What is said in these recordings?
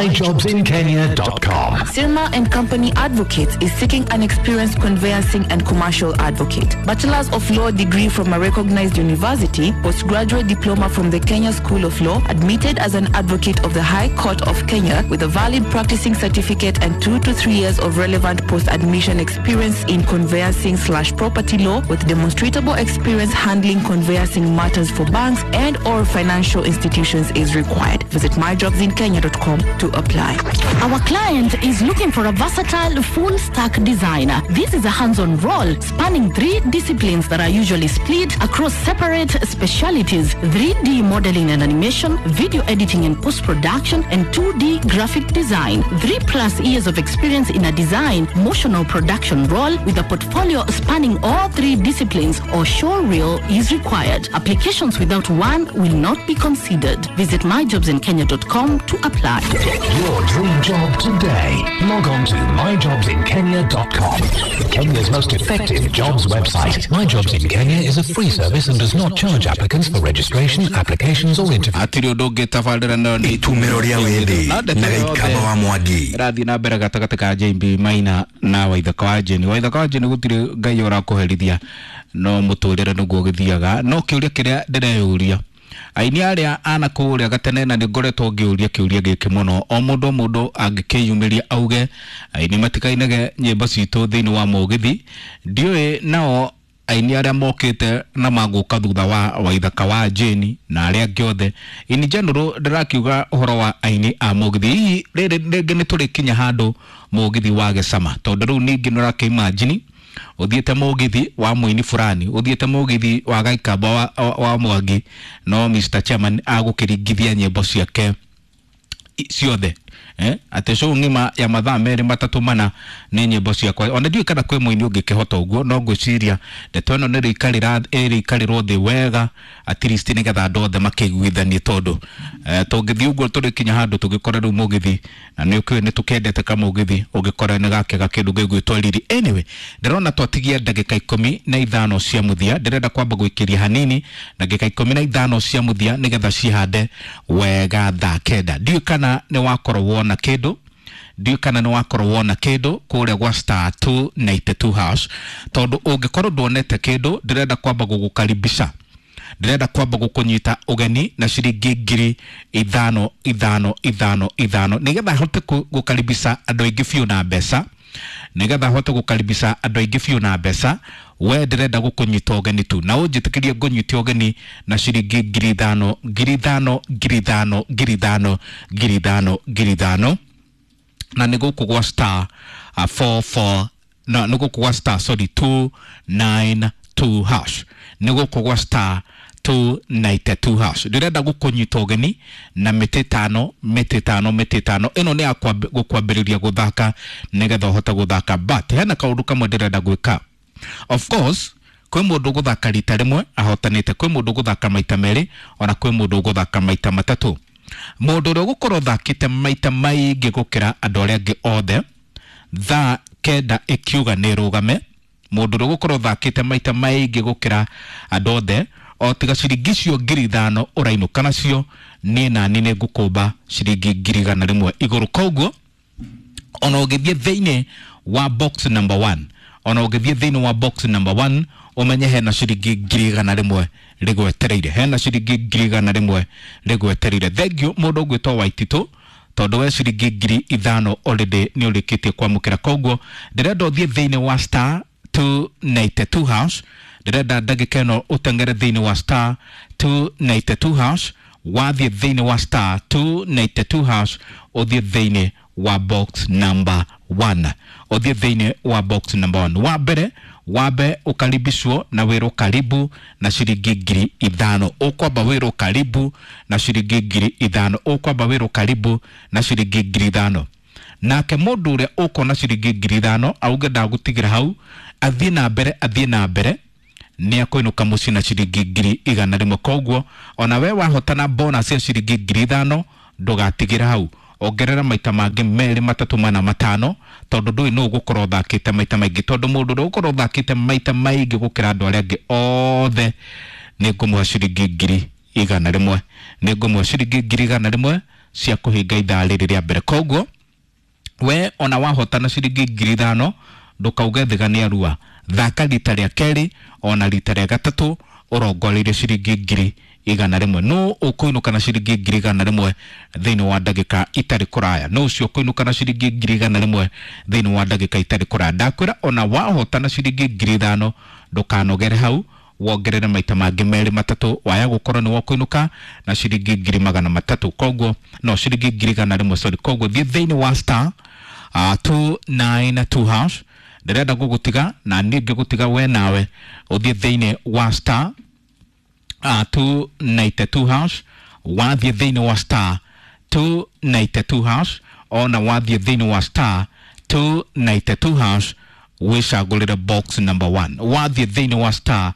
myjobsinkenya.com. Sirma and Company Advocates is seeking an experienced conveyancing and commercial advocate. Bachelor's of Law degree from a recognized university, postgraduate diploma from the Kenya School of Law, admitted as an advocate of the High Court of Kenya with a valid practicing certificate and 2 to 3 years of relevant post-admission experience in conveyancing/property law with demonstrable experience handling conveyancing matters for banks and or financial institutions is required. Visit myjobsinkenya.com to apply. Our client is looking for a versatile full stack designer. This is a hands-on role spanning 3 disciplines that are usually split across separate specialities: 3D modeling and animation, video editing and post-production, and 2D graphic design. 3+ years of experience in a design, motion or production role with a portfolio spanning all 3 disciplines or showreel is required. Applications without one will not be considered. Visit myjobsinkenya.com to apply. Get your dream job today. Log on to myjobsinkenya.com. Kenya's most effective jobs website. My Jobs in Kenya is a free service and does not charge applicants for registration, applications or interviews. Hatirĩ ũndũ ũngĩ tabarĩra nayo nĩ Itumĩro rĩa wĩthĩ Na ndeto na Gĩikamba yothe wa Mwangi. ĩrathiĩ na mbere gatagatĩ ka JB Maina na Waithaka wa Jane. Waithaka wa Jane gũtirĩ Ngai ũrakũherithia no mũtũrĩre nĩguo ũgĩthiaga. No kĩũria kĩrĩa ndĩreyũria, aini arĩa ana kũrĩa gatene, na nĩ ngoretwo ngĩũria kĩũria gĩkĩ mũno, o mũndũ o mũndũ angĩkĩyumĩria auge aini matikainage nyĩmbo citũ thĩinĩ wa mũgithi, ndiũĩ nao aini arĩa mokĩte na magũka thutha wa Waithaka wa Jane na arĩa angĩ othe in general, ndĩrakiuga ũhoro wa aini a mũgithi, hihi rĩrĩ rĩngĩ nĩ tũrĩkinya handũ mũgithi wage cama? Tondũ rĩu ningĩ nĩ ũrakĩimagine ũthiĩte mũgithi wa mũini fulani, ũthiĩte mũgithi wa Gaikamba wa Mwangi, no Mr Chairman agũkĩringithia nyĩmbo ciake ciothe, atĩ show ng'ima ya mathaa 2 3 4 nĩ nyĩmbo ciakwa. Ona ndiũĩ kana kwĩ mũini ũngĩkĩhota ũguo, no ngwĩciria ndeto ĩno nĩ ĩrĩikarĩrwo thĩ wega at least nĩgetha andũ othe makĩiguithanie, tondũ tũngĩthiĩ ũguo tũrĩkinya handũ tũgĩkore rĩu mũgithi, na nĩ ũkĩũĩ nĩ tũkendete kamũgithi, ũngĩkora nĩ gakĩaga kĩndũ gĩgwĩtwo riri. Anyway, ndĩrona twatigia ndagĩka 15 cia mũthia, ndĩrenda kwamba gwĩkĩria hanini ndagĩka 15 cia mũthia nĩgetha cihande wega thaa 9. Ndiũĩ kana nĩ wakorwo wona kĩndũ, ndiũĩ kana nĩ wakorwo wona kĩndũ kũrĩa gwa star 292 hash, tondũ ũngĩkorwo nduonete kĩndũ, ndĩrenda kwamba gũgũkaribisha, ndĩrenda kwamba gũkũnyita ũgeni na ciringi 5,000 5 5 5, nĩgetha hote gũkaribisha andũ aingĩ biũ na mbeca, nĩgetha hote gũkaribisha andũ aingĩ biũ na mbeca. We ndĩrenda gũkũnyita ũgeni tu, na ũnjĩtĩkĩrie ngũnyite ũgeni na ciringi 5,000 5,000 5,000 5,000 5,000 5,000, na nĩ gũkũ gwa star 44, no nĩ gũkũ gwa star, sorry, 292 hash, nĩ gũkũ gwa star 292 hash. Ndĩrenda gũkũnyita ũgeni na mĩtĩ 5 mĩtĩ 5 mĩtĩ 5. Ĩno nĩ ya gũkwambĩrĩria gũthaka nĩgetha ũhote gũthaka, but hena kaũndũ kamwe ndĩrenda gwĩka. Of course kwĩ mũndũ ũgũthaka rita rĩmwe ahotanĩte, kwĩ mũndũ ũgũthaka maita 2, ona kwĩ mũndũ ũgũthaka maita 3. Mũndũ ũrĩa ũgũkorwo ũthakĩte maita maingĩ gũkĩra andũ arĩa angĩ othe, thaa 9 ĩkiuga nĩ ĩrũgame, mũndũ ũrĩa ũgũkorwo ũthakĩte maita maingĩ gũkĩra andũ othe, o tiga ciringi icio 5,000 ũrainũka nacio, niĩ nani nĩ ngũkũmba ciringi 100,000 igũrũ. Koguo ona ũngĩthiĩ thĩinĩ wa box number 1, ona ũngĩthiĩ thĩinĩ wa box number 1, ũmenye hena ciringi 100,000 rĩgwetereire, hena ciringi 100,000 rĩgwetereire. Thengiũ mũndũ ũgwĩtwo Waititũ, tondũ we ciringi 5,000 already nĩ ũrĩkĩtie kwamũkĩra. Koguo ndĩrenda ũthiĩ thĩinĩ wa star 292 hash, ndĩrenda ndagĩka ĩno ũteng'ere thĩinĩ wa star 292 hash. Wathiĩ thĩinĩ wa star 292 hash, ũthiĩ thĩinĩ wa box number 1, ũthiĩ thĩinĩ wa box number 1. Wa mbere wambe ũkaribishwo na wĩrwo karibu na ciringi 5,000, ũkwamba wĩrwo karibu na ciringi 5,000, ũkwamba wĩrwo karibu na ciringi 5,000. Nake mũndũ ũrĩa ũkona ciringi 5,000 auge ndagũtigĩra hau, athiĩ na mbere, athiĩ na mbere, nĩ akũinũka mũciĩ na ciringi 100,000. Koguo ona we wahotana bonus ya ciringi 5,000, ndũgatigĩra hau, ongerera maita mangĩ 2 3 4 5, tondũ ndũĩ nũ ũgũkorwo ũthakĩte maita maingĩ, tondũ mũndũ ũrĩa ũgũkorwo ũthakĩte maita maingĩ gũkĩra andũ arĩa angĩ othe nĩ ngũmũhe ciringi 100,000, nĩ ngũmũhe ciringi 100,000. cia kũhinga ithaa rĩrĩ rĩa mbere. Koguo we ona wahotana ciringi 5,000 ndũkauge thiga nĩ arua, thaka rita rĩa kerĩ ona rita rĩa gatatũ ũrongoreirie ciringi 100,000. No ũkũinũka na ciringi 100,000 thĩinĩ wa ndagĩka itarĩ kũraya. No ũcio ũkũinũka na ciringi 100,000 thĩinĩ wa ndagĩka itarĩ kũraya. Ndakwĩra ona wahotana ciringi 5,000 ndũkanogere hau, wongerere maita mangĩ merĩ matatũ, waya gũkorwo nĩ wokũinũka na ciringi 300,000. Koguo no ciringi 100,000, sorry. Koguo thiĩ thĩinĩ wa star 292 hash. Ndĩrenda gũgũtiga na niĩ ngĩgũtiga we nawe ũthiĩ thĩinĩ wa star 292 hash. Wathiĩ thĩinĩ wa star 292 hash, ona wathiĩ thĩinĩ wa star 292 hash wĩcagũrĩre box number 1. Wathiĩ thĩinĩ wa star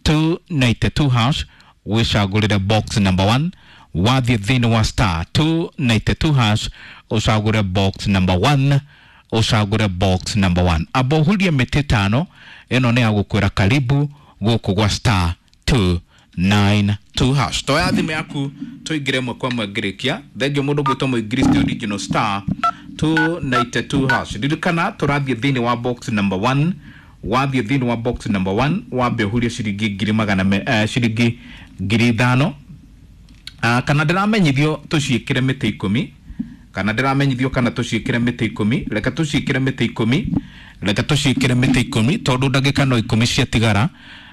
292 hash wĩcagũrĩre box number 1. Wathiĩ thĩinĩ wa star 292 hash ũcagũre box number 1, ũcagũre box number 1. Amba ũhurie mĩtĩ 5 ĩno nĩ ya gũkwĩra karibu gũkũ gwa star 292 hash. Toya thimũ yaku tũingĩre ĩmwe kwa ĩmwe ngĩrĩkia. Thengiũ mũndũ gwĩtwo mũingiristi original star 292 hash. Ririkana tũrathiĩ thĩinĩ wa box number 1. Wathiĩ thĩinĩ wa box number 1 wambe ũhurie ciringi ngiri magana ciringi 5,000. Kana ndĩramenyithio tũciĩkĩre mĩtĩ 10, kana ndĩramenyithio kana tũciĩkĩre mĩtĩ 10. Reke tũciĩkĩre mĩtĩ 10, reke tũciĩkĩre mĩtĩ 10 tondũ ndagĩka no 10 ciatigara.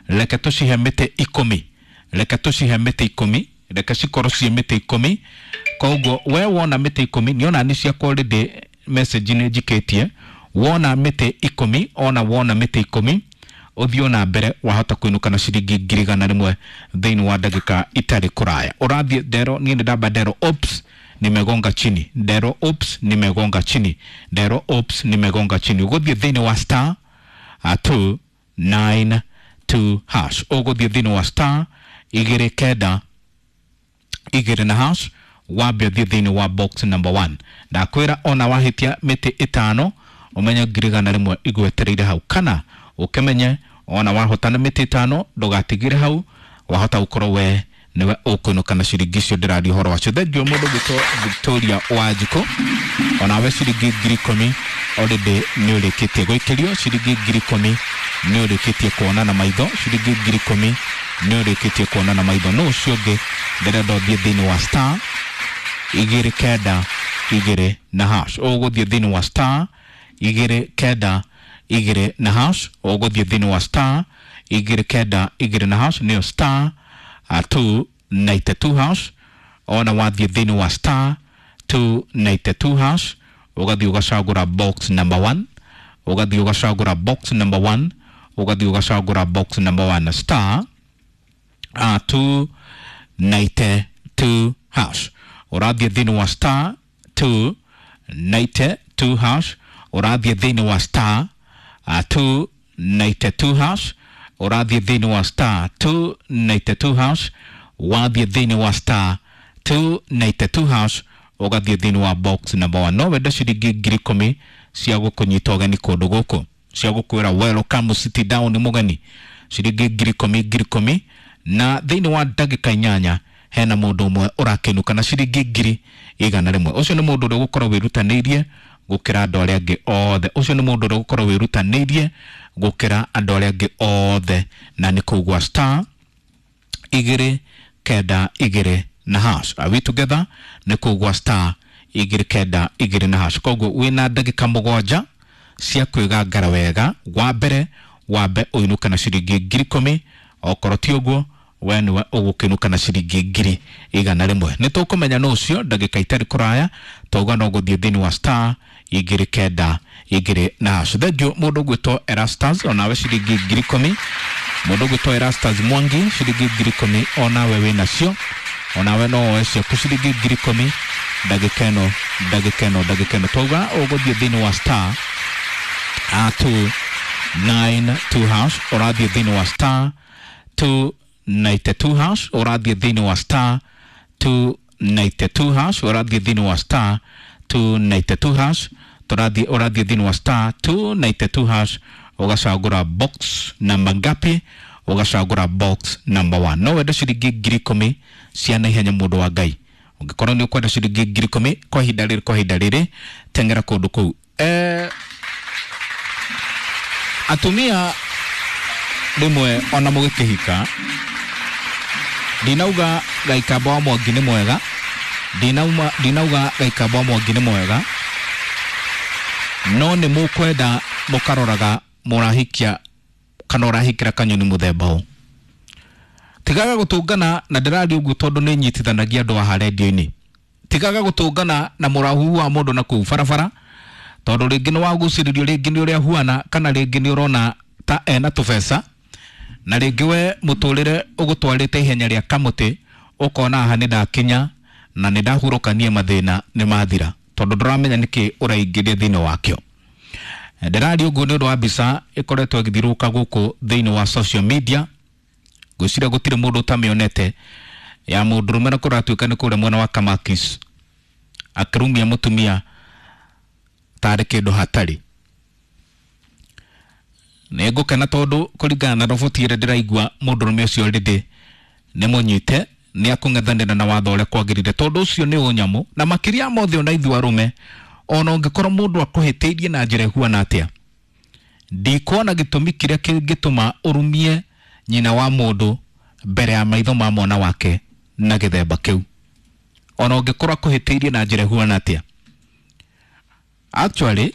Reke tũcihe mĩtĩ 10, reke tũcihe mĩtĩ 10, reke cikorwo ciĩ mĩtĩ 10. Koguo we wona mĩtĩ 10 nĩona nĩ ciakwa already message nĩ njikĩtie. Wona mĩtĩ 10, ona wona mĩtĩ 10 ũthiĩ na mbere, wahota kũinũka na ciringi 100,000 thĩinĩ wa ndagĩka itarĩ kũraya. Ũrathiĩ ndero, niĩ nĩ ndamba ndero ops nimegonga chini, ndero ops nimegonga chini, ndero ops nimegonga chini. Ũgũthiĩ thĩinĩ wa star 292 hash. Ũgũthiĩ thĩinĩ wa star 2 9 2 na hash, wambe ũthiĩ thĩinĩ wa box number 1. Ndakwĩra ona wahĩtia mĩtĩ 5 ũmenye 100,000 igwetereire hau, kana ũkĩmenye ona wahotana mĩtĩ 5 ndũgatigire hau, wahota gũkorwo we nĩwe ũkũinũka na ciringi icio ndĩraria ũhoro wacio. Thengiũ mũndũ gwĩtwo Victoria Wanjikũ, onawe ciringi 10,000 already nĩ ũrĩkĩtie gũikĩrio ciringi 10,000, nĩ ũrĩkĩtie kuona na maitho ciringi 10,000, nĩ ũrĩkĩtie kuona na maitho. No ũcio ũngĩ ndĩrenda ũthiĩ thĩinĩ wa star 2 9 2 na hash. Ũgũthiĩ thĩinĩ wa star 2 9 2 na hash. Ũgũthiĩ thĩinĩ wa star 2 9 2 na hash, nĩyo star 292 hash. Ona wathiĩ thĩinĩ wa star 292 hash ũgathiĩ ũgacagũra box number 1, ũgathiĩ ũgacagũra box number 1, ũgathiĩ ũgacagũra box number 1 star 292 hash. Ũrathiĩ thĩinĩ wa star 292 hash, ũrathiĩ thĩinĩ wa star 292 hash, ũrathiĩ thĩinĩ wa star 292 hash, wathiĩ thĩinĩ wa star 292 hash ũgathiĩ thĩinĩ wa box number 1. No wende ciringi 10,000 cia gũkũnyita ũgeni kũndũ gũkũ, cia gũkwĩra welcome city down mũgeni, ciringi 10,000 10,000. Na thĩinĩ wa ndagĩka 8 hena mũndũ ũmwe ũrakenũka na ciringi 100,000. Ũcio nĩ mũndũ ũrĩa ũgũkorwo wĩrutanĩirie gũkĩra andũ arĩa angĩ othe. Ũcio nĩ mũndũ ũrĩa ũgũkorwo wĩrutanĩirie gũkĩra andũ arĩa angĩ othe, na nĩ kũu gwa star 2 9 2 na hash. Are we together? Nĩ kũu gwa star 2 9 2 na hash. Koguo wĩna ndagĩka 7 cia kwĩgangara wega. Wa mbere wambe ũinũke na ciringi 10,000, okorwo ti ũguo we nĩwe ũgũkĩnũka na ciringi 100,000. Nĩ tũkũmenya nũ ũcio ndagĩka itarĩ kũraya, twauga no gũthiĩ thĩinĩ wa star 2 9 2 na hash. Thengiũ mũndũ ũgwĩtwo Erastus, onawe ciringi 10,000. Mũndũ ũgwĩtwo Erastus Mwangi ciringi 10,000, onawe wĩnacio, onawe no woe ciaku ciringi 10,000 ndagĩka ĩno, ndagĩka ĩno, ndagĩka ĩno. Twauga ũgũthiĩ thĩinĩ wa star 292 hash, ũrathiĩ thĩinĩ wa star 292 hash, ũrathiĩ thĩinĩ wa star 292 hash, ũrathiĩ thĩinĩ wa star 292 hash, tũrathiĩ ũrathiĩ thĩinĩ wa star 292 hash, ũgacagũra box namba ngapi, ũgacagũra box number 1. No wende ciringi 10,000 cia naihenya mũndũ wa Ngai. Ũngĩkorwo nĩ ũkwenda ciringi 10,000 kwa ihinda rĩrĩ, kwa ihinda rĩrĩ teng'era kũndũ kũu. Atumia rĩmwe ona mũgĩkĩhika, ndinauga Gaikamba wa Mwangi nĩ mwega, ndinauga Gaikamba wa Mwangi nĩ mwega, no nĩ mũkwenda mũkaroraga mũrahikia kana ũrahikĩra kanyoni mũthemba ũ. Tigaga gũtũngana na ndĩraria ũguo tondũ nĩ nyitithanagia andũ haha rendio-inĩ. Tigaga gũtũngana na mũrahuhu wa mũndũ na kũu barabara, tondũ rĩngĩ nĩ wagucĩrĩrio, rĩngĩ nĩ ũrĩa huana, kana rĩngĩ nĩ ũrona ta ena tũbeca, na rĩngĩ we mũtũrĩre ũgũtwarĩte ihenya rĩa kamũtĩ, ũkona haha nĩ ndakinya na nĩ ndahurũkania, mathĩna nĩ mathira, tondũ ndũramenya nĩkĩ ũraingĩria thĩinĩ wakĩo. Ndĩraria ũguo nĩ ũndũ wa mbica ĩkoretwo ĩgĩthiũrũrũka gũkũ thĩinĩ wa social media, ngwĩciria gũtirĩ mũndũ ũtamĩonete, ya mũndũrũme na kũratuĩka nĩ kũrĩa mwena wa Kamakis akĩrumia mũtumia tarĩ kĩndũ hatarĩ. Nĩ ngũkena tondũ kũringana na roboti ĩrĩa ndĩraigua, mũndũrũme ũcio rĩndĩ nĩ mũnyite, nĩ akũng'ethanĩra na watho ũrĩa kwagĩrĩire, tondũ ũcio nĩ ũnyamũ. Na makĩria mothe ona ithuĩ arũme, ona ũngĩkorwo mũndũ akũhĩtĩirie na njĩra ĩhuana atĩa, ndikuona gĩtũmi kĩrĩa kĩngĩtũma ũrumie nyina wa mũndũ mbere ya maitho ma mwana wake na gĩthemba kĩu, ona ũngĩkorwo akũhĩtĩirie na njĩra ĩhuana atĩa. Actually